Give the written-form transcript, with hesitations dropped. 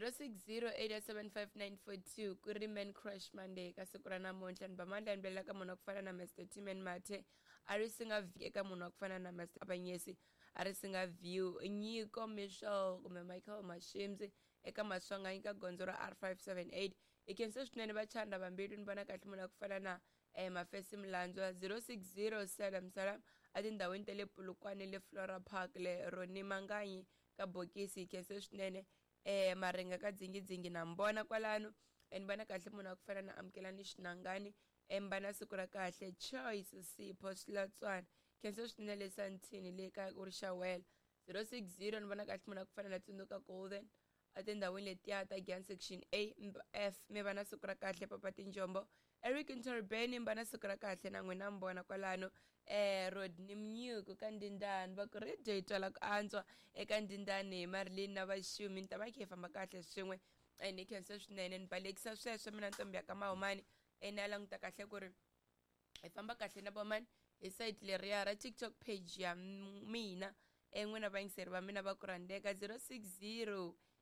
06087594 ku ri Man Crush Monday ka siku ra namuntlha. Ni ba mandla ni belela ka munhu wa ku fana na Mr Timan Mathe, a ri singa eka munhu wa ku fana na Mr Abanyesi, a ri singa view Nyiko Michel kumbe Michael Mashimzi eka Maswanganyi ka gondzo ra R578. Hi khensa swinene vachanda vambilu. Ni vona kahle munhu wa ku fana na Mafesi Mlandzwa, 060 salam salam etindhawini ta le Polokwane, le Flora Park, le Roni Manganyi ka bokisi. Hi khensa swinene. Maringa ka dzingidzingi na mbona kwalano. Ni vona kahle munhu wa ku fana na Amukelani Xinangani, mbana siku ra kahle. Choice Sipho Swilatswana, khensa swinene le Santini le ka ku ri xawela, 060. Ni vona kahle munhu wa ku fana na Tsundzuka Golden etindhawini letiya ta Gian section A F, mi va na siku ra kahle. Papa Tinjombo Eric Ntorbeni, mi va na siku ra kahle na n'wina. Mbona kwalano Rodney Mnyuku ka Ndindani, va ku radio yi twala ku antswa eka Ndindani hi Marilyn na Vaxumi. Ni ta va khe hi famba kahle swin'we. Ni khensa swinene, ni balekisa sweswo mina ntombi ya ka Mahumani. Ni ya languta kahle ku ri hi famba kahle na vomani hi site leriya ra TikTok page ya mina. N'wina vayingiseri va mina va ku rhandzeka, 060.